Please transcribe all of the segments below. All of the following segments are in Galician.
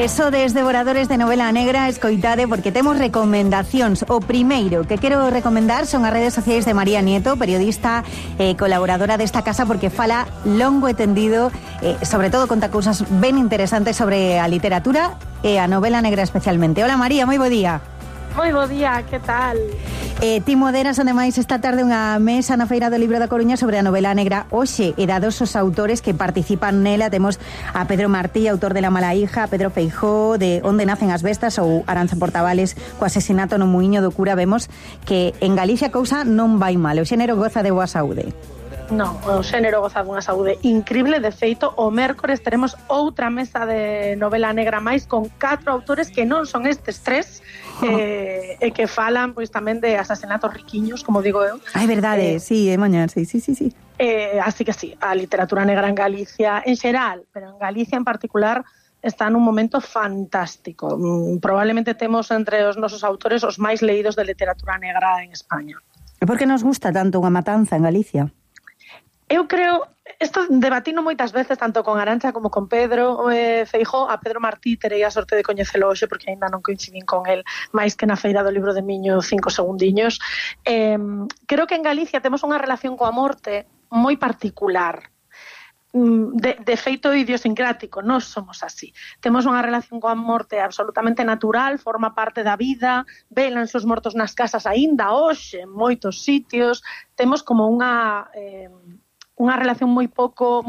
Sodes devoradores de novela negra, escoitade, porque temos recomendacións. O primeiro que quero recomendar son as redes sociais de María Nieto, periodista colaboradora desta casa, porque fala longo e tendido, sobre todo conta cousas ben interesantes sobre a literatura e a novela negra especialmente. Hola María, moi bo día. Moi bo día, que tal? Ti moderas, ademais, esta tarde unha mesa na Feira do Libro da Coruña sobre a novela negra hoxe, e dados os autores que participan nela. Temos a Pedro Martí, autor de La mala hija, a Pedro Feijóo, de Onde nacen as bestas, ou Arantxa Portavales, co asesinato no muiño do cura. Vemos que en Galicia a cousa non vai mal, o xénero goza de boa saúde. Non, o xénero goza dunha saúde increíble. De feito, o mércores teremos outra mesa de novela negra máis con 4 autores que non son estes 3 e que falan pois tamén de asasinatos riquiños, como digo eu. É verdade, sí, é mañá, sí. Así que sí, a literatura negra en Galicia en xeral, pero en Galicia en particular está nun momento fantástico. Probablemente temos entre os nosos autores os máis leídos de literatura negra en España. E por que nos gusta tanto unha matanza en Galicia? Eu creo, isto debatino moitas veces tanto con Arantxa como con Pedro Feijóo. A Pedro Martí terei a sorte de coñecelo hoxe porque aínda non coincidín con el máis que na Feira do Libro de Miño 5 segundiños. Creo que en Galicia temos unha relación coa morte moi particular. De feito idiosincrático, nós somos así. Temos unha relación coa morte absolutamente natural, forma parte da vida, velan os mortos nas casas aínda hoxe en moitos sitios. Temos como unha relación moi pouco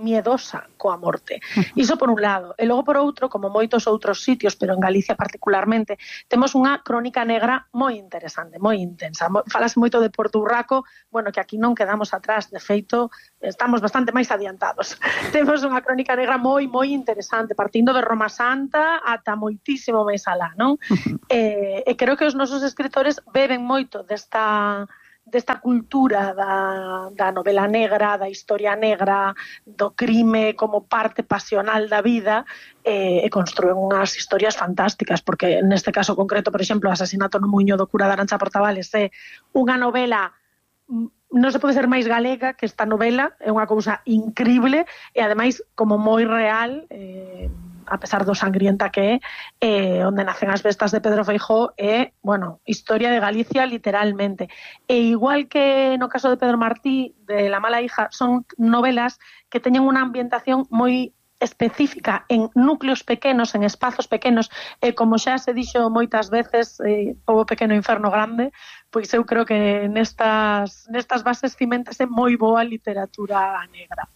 miedosa coa morte. Iso por un lado. E logo por outro, como moitos outros sitios, pero en Galicia particularmente, temos unha crónica negra moi interesante, moi intensa. Falase moito de Porto Urraco, bueno, que aquí non quedamos atrás, de feito, estamos bastante máis adiantados. Temos unha crónica negra moi interesante, partindo de Roma Santa ata moitísimo máis alá, non? E creo que os nosos escritores beben moito desta cultura da novela negra, da historia negra, do crime como parte pasional da vida, e construen unhas historias fantásticas, porque neste caso concreto, por exemplo, o asesinato no muiño do cura de Arantxa Portavales é unha novela, non se pode ser máis galega que esta novela, é unha cousa increíble e ademais como moi real, a pesar do sangrienta que é. Onde nacen as bestas de Pedro Feijóo é, bueno, historia de Galicia literalmente. E igual que no caso de Pedro Martí, de La mala hija, son novelas que teñen unha ambientación moi específica en núcleos pequenos, en espazos pequenos, e como xa se dixo moitas veces, pobo pequeno inferno grande, pois eu creo que nestas bases cimentase moi boa literatura negra.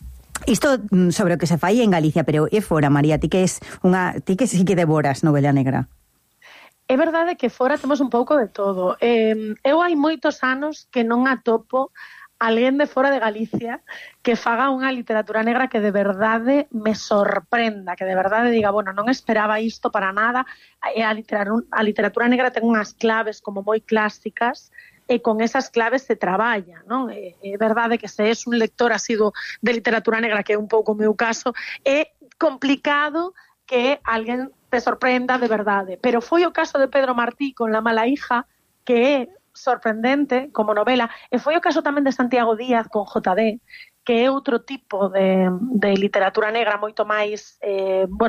Isto sobre o que se fai en Galicia, pero é fora, María, ti que sí que devoras novela negra. É verdade que fora temos un pouco de todo. Eu hai moitos anos que non atopo alguén de fora de Galicia que faga unha literatura negra que de verdade me sorprenda, que de verdade diga, bueno, non esperaba isto para nada. A literatura negra ten unhas claves como moi clásicas, e con esas claves se traballa, non? É verdade que se és un lector asiduo de literatura negra, que é un pouco o meu caso, é complicado que alguén te sorprenda de verdade. Pero foi o caso de Pedro Martí con La mala hija, que é sorprendente como novela, e foi o caso tamén de Santiago Díaz con JD, que é outro tipo de literatura negra moito máis,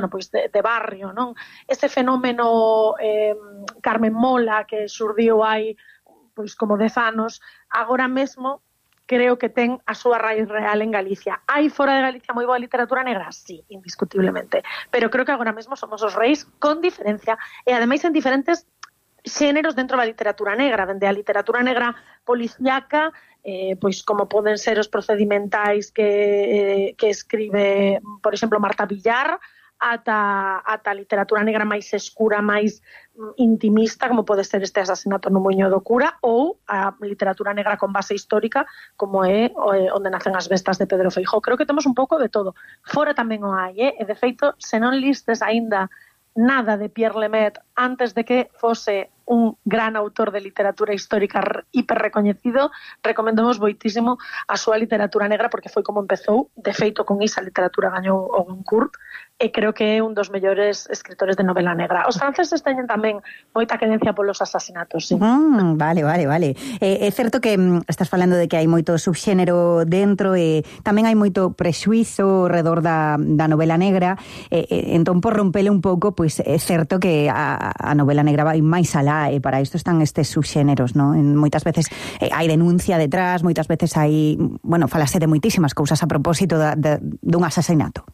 pois de barrio, non? Ese fenómeno Carmen Mola que xurdiu hai pois como 10 anos, agora mesmo creo que ten a súa raíz real en Galicia. Hai fora de Galicia moi boa literatura negra? Sí, indiscutiblemente. Pero creo que agora mesmo somos os reis con diferencia, e ademais en diferentes xéneros dentro da literatura negra, dende a literatura negra policíaca, pois como poden ser os procedimentais que escribe, por exemplo, Marta Villar, ata a literatura negra máis escura, máis intimista, como pode ser este asesinato no muiño do cura, ou a literatura negra con base histórica, como é Onde nacen as bestas de Pedro Feijóo. Creo que temos un pouco de todo. Fora tamén o hai, e de feito, se non listes aínda nada de Pierre Lemaitre antes de que fose un gran autor de literatura histórica hiper recoñecido, recomendamos moitísimo a súa literatura negra, porque foi como empezou. De feito, con esa literatura gañou o Goncourt, e creo que é un dos mellores escritores de novela negra. Os franceses teñen tamén moita querencia polos asasinatos, sí. Vale. É certo que estás falando de que hai moito subxénero dentro e tamén hai moito prexuizo redor da novela negra, entón por rompele un pouco, pois é certo que a novela negra vai máis alá e para isto están estes subxéneros, non? Moitas veces hai denuncia detrás, moitas veces hai, falase de moitísimas cousas a propósito dun asasinato.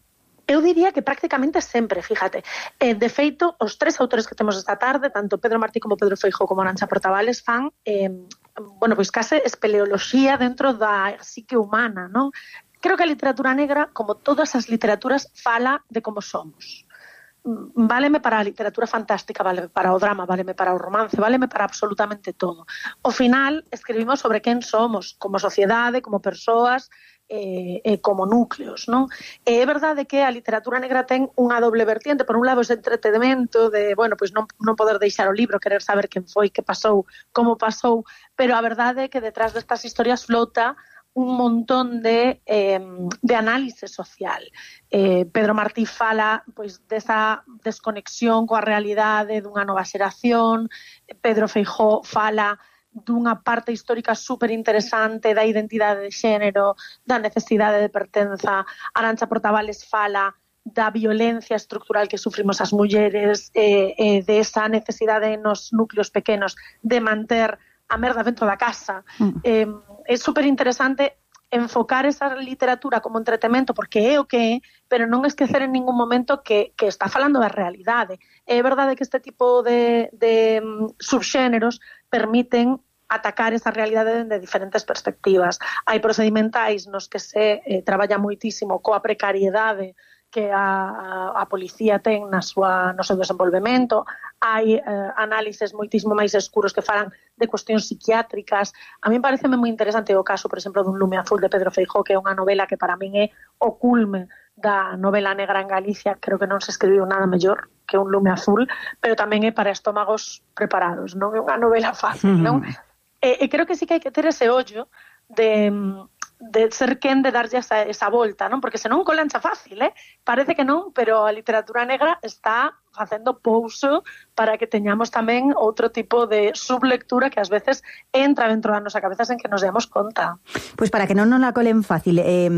Eu diría que prácticamente sempre, fíjate. De feito, os tres autores que temos esta tarde, tanto Pedro Martí como Pedro Feijó como Arantxa Portabales, fan, pois case espeleoloxía dentro da psique humana, non? Creo que a literatura negra, como todas as literaturas, fala de como somos. Váleme para a literatura fantástica, váleme para o drama, váleme para o romance, váleme para absolutamente todo. Ao final, escribimos sobre quen somos, como sociedade, como persoas, como núcleos, non? É verdade que a literatura negra ten unha doble vertiente, por un lado ese entretenimento de, pois non poder deixar o libro, querer saber quen foi, que pasou, como pasou, pero a verdade é que detrás destas historias flota un montón de análise social. Pedro Martí fala pois desa desconexión coa realidade dunha nova xeración, Pedro Feijó fala dunha parte histórica super interesante da identidade de xénero, da necesidade de pertenza. Arantxa Portabales fala da violencia estructural que sufrimos as mulleres, de esa necesidade nos núcleos pequenos de manter a merda dentro da casa. É super interesante enfocar esa literatura como entretemento, porque é o que é, pero non esquecer en ningún momento que está falando da realidade. É verdade que este tipo de subxéneros permiten atacar esa realidade de diferentes perspectivas. Hai procedimentais nos que se traballa moitísimo coa precariedade que a policía ten no seu desenvolvemento, hai análises moitísimo máis escuros que falan de cuestións psiquiátricas. A mí pareceme moi interesante o caso, por exemplo, dun Lume Azul de Pedro Feijó, que é unha novela que para min é o culme da novela negra en Galicia. Creo que non se escribiu nada mellor que un Lume Azul, pero tamén é para estómagos preparados, non é unha novela fácil, non? E creo que sí que hai que ter ese ollo de ser quen de darlle esa volta, non? Porque senón colancha fácil, parece que non, pero a literatura negra está facendo pouso para que teñamos tamén outro tipo de sublectura que ás veces entra dentro da nosa cabeza sen que nos demos conta. Pois para que non nos la colen fácil, e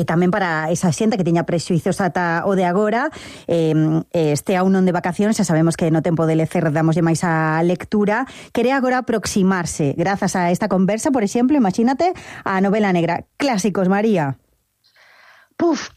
tamén para esa xente que teña prexuizos ata o de agora, este aún non de vacacións, xa sabemos que no tempo de lecer damoslle máis a lectura, quere agora aproximarse, grazas a esta conversa, por exemplo, imagínate, a novela negra. Clásicos, María.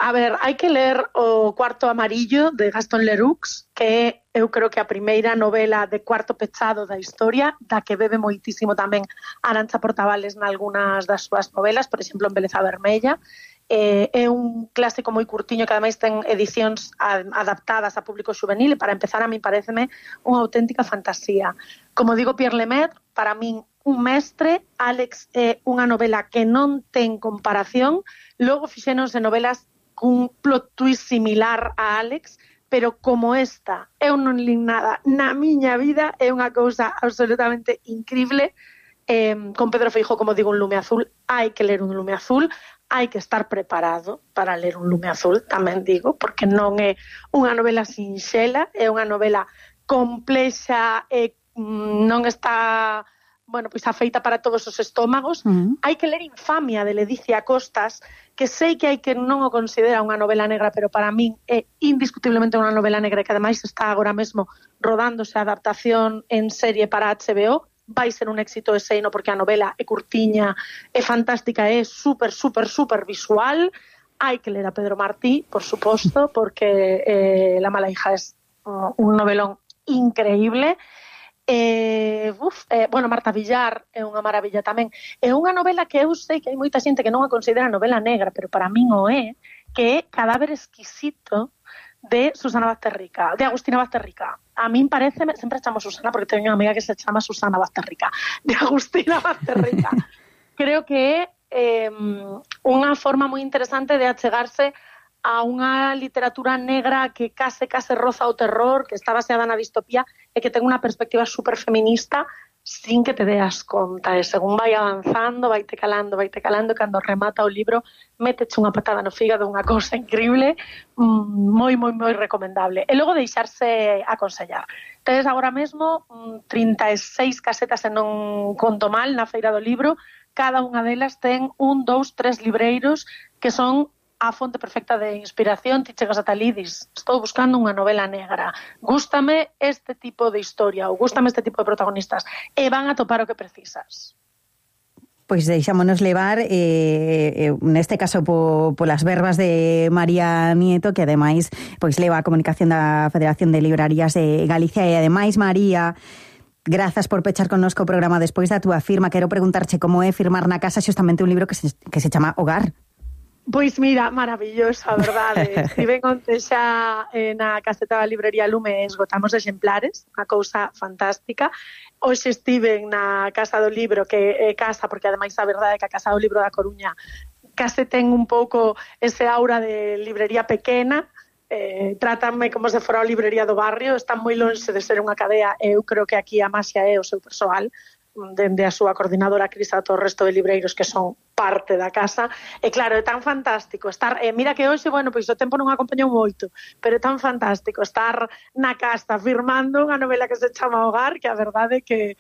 A ver, hai que ler o Cuarto Amarillo de Gaston Leroux, que eu creo que a primeira novela de cuarto pechado da historia, da que bebe moitísimo tamén Arantxa Portabales nalgúnas das súas novelas, por exemplo, en Beleza Vermella. É un clásico moi curtiño que ademais ten edicións adaptadas a público juvenil e para empezar a mí pareceme unha auténtica fantasía. Como digo Pierre Lemaitre, para min un mestre. Álex é unha novela que non ten comparación. Logo fixéronse novelas cun plot twist similar a Álex, pero como esta eu non lin nada na miña vida, é unha cousa absolutamente increíble. Con Pedro Feijó, como digo, un Lume Azul, hai que ler un Lume Azul, hai que estar preparado para ler un Lume Azul, tamén digo, porque non é unha novela sinxela, é unha novela complexa e non está, pois afeita para todos os estómagos. Hai que ler Infamia de Ledicia Costas, que sei que hai que non o considera unha novela negra, pero para min é indiscutiblemente unha novela negra que ademais está agora mesmo rodándose a adaptación en serie para HBO. Vai ser un éxito eseino porque a novela é curtiña, é fantástica, é super visual. Hai que ler a Pedro Martí, por suposto, porque La mala hija es un novelón increíble. Marta Villar é unha maravilla tamén. É unha novela que eu sei que hai moita xente que non a considera novela negra, pero para min o é, que é Cadáver exquisito de Susana Bazterrica, de Agustina Bazterrica. A min parece, sempre chamo Susana porque teño unha amiga que se chama Susana Bazterrica, de Agustina Bazterrica. Creo que é unha forma moi interesante de achegarse a unha literatura negra que case roza o terror, que está baseada na distopía e que ten unha perspectiva super feminista sin que te deas conta, e según vai avanzando, vaite calando, cando remata o libro, méteche unha patada no fígado, unha cousa increíble, moi recomendable. E logo deixarse aconsellar. Tedes agora mesmo 36 casetas, e non conto mal, na Feira do Libro. Cada unha delas ten 1, 2, 3 libreiros que son a fonte perfecta de inspiración. Ti chegas ata ali e dis, estou buscando unha novela negra, gústame este tipo de historia ou gústame este tipo de protagonistas, e van a topar o que precisas. Pois deixámonos levar, neste caso, polas verbas de María Nieto, que ademais pois leva a comunicación da Federación de Librarías de Galicia. E ademais, María, grazas por pechar connosco o programa despois da túa firma. Quero preguntarche como é firmar na casa xustamente un libro que se chama Hogar. Pois mira, maravilloso, a verdade. Estiven onte xa na caseta da librería Lume, esgotamos exemplares, unha cousa fantástica. Hoxe estiven na Casa do Libro, que é casa, porque ademais a verdade é que a Casa do Libro da Coruña case ten un pouco ese aura de librería pequena, trátanme como se fora a librería do barrio, están moi lonxe de ser unha cadea, e eu creo que aquí a maxia é o seu persoal, dende a súa coordinadora Cris ata o resto de libreiros que son parte da casa. E claro, é tan fantástico estar, mira que hoxe, bueno, pois o tempo non acompañou moito, pero é tan fantástico estar na casa firmando unha novela que se chama Hogar, que a verdade é que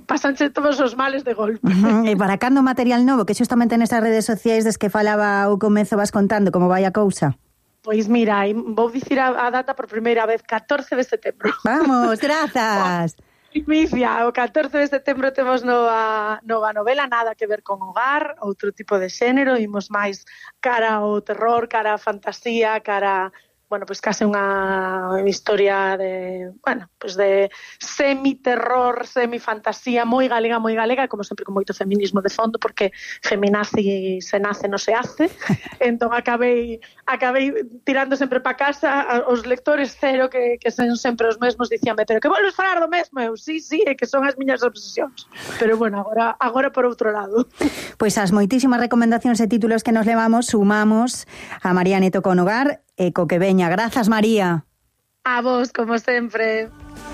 pasanche todos os males de golpe. E para cando material novo, que xustamente nesas redes sociais des que falaba o comezo vas contando como vai a cousa? Pois mira, vou dicir a data por primeira vez, 14 de setembro. Vamos, grazas. Primicia, o 14 de setembro temos nova novela, nada que ver con hogar, outro tipo de xénero, imos máis cara ao terror, cara á fantasía, cara, bueno, pois case unha historia de, bueno, pois de semi-terror, semi-fantasía, moi galega, como sempre con moito feminismo de fondo, porque feminazi se nace, non se hace. Entón acabei tirando sempre pa casa, os lectores cero, que son sempre os mesmos, dicíame, pero que volves falar do mesmo? Eu, sí, é que son as miñas obsesións. Pero bueno, agora por outro lado. Pois as moitísimas recomendacións e títulos que nos levamos, sumamos a María Nieto con Hogar, e co que veña. Grazas, María. A vos, como sempre.